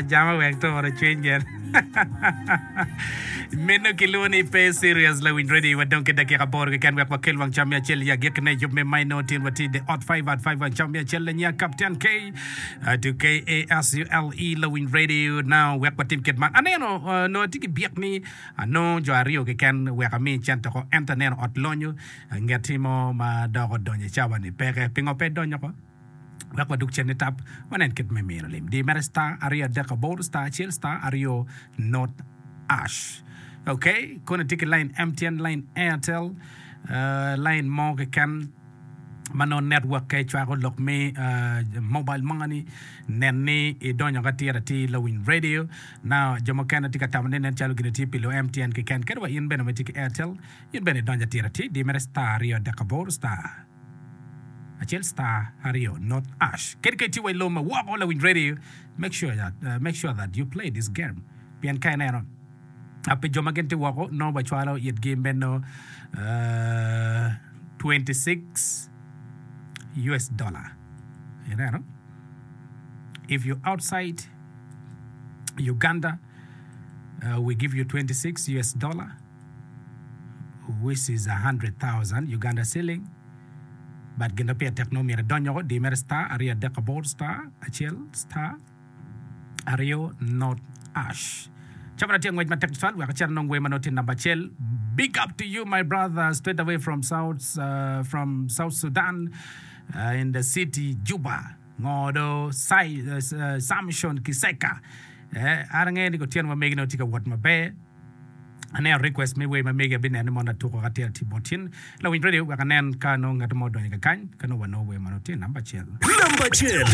Jama wek turo cwiny gin. Meno kilwongo ni pe serious lawiny radio wadong ki dakika aboro keken wek wakel wang cam me acel i agikine yub me maino tin watye the ot 5 at 5 wang cam me acel lanyia Captain K uh, to K A S U L E lawiny radio now wek watim kit man aneno uh, nongo atye ki byek ni anongo jo aryo keken wek ami cente oko ento aneno ot lonyo ngeti mo ma dok odonyo i cawa ni peke pingo pe idonyo oko Wek wadug cen nitap, wanen kit me mino lim. Di mere star 238 star acel star aryo not ash. Ok, kono itye ki line MTN, line Airtel, uh, line mo keken ma nongo network-ke cwako lok me uh, mobile money, nen ni idonyo ka atir atir lawiny radio. Now, jo mukene tye ka tamo ni nen calo gin tye pi lu MTN keken. Kadi wa in bene ma itye ki Airtel, in bene idonyo atir atir. Di mere star 238 star. Acel star aryo not ash. Kadi ka itye wa i lobo ma woko lawiny radio, make sure that, uh, make sure that you play this game. Pien ka ineno uh, pi jo ma gin tye woko nongo wacwalo itgi meno uh, 26 US dollar. Ineno? If you outside Uganda, uh, we give you 26 US dollar. which is 100,000 Uganda shilling but gin ma pire tek nongo myero idony woko di mere star aryo adek aboro star acel star aryo not ash. Cabana tye ngwec matek tutwal wek acit anong wer ma nongo tye namba acel. Big up to you my brother straight away from South, uh, from South Sudan uh, in the city Juba. Ngo do Sai, uh, Samson Kiseka. Eh, an angeyo ni kutyeno ma megi nongo tye ka wot maber. Aneno request me wer ma megi abineno ni mono atuko ka tye atye bot tin lawiny radio wek anen ka nongo ngat mo odonyo kakany ka nongo wanongo wer mono tye namba acel. Namba acel.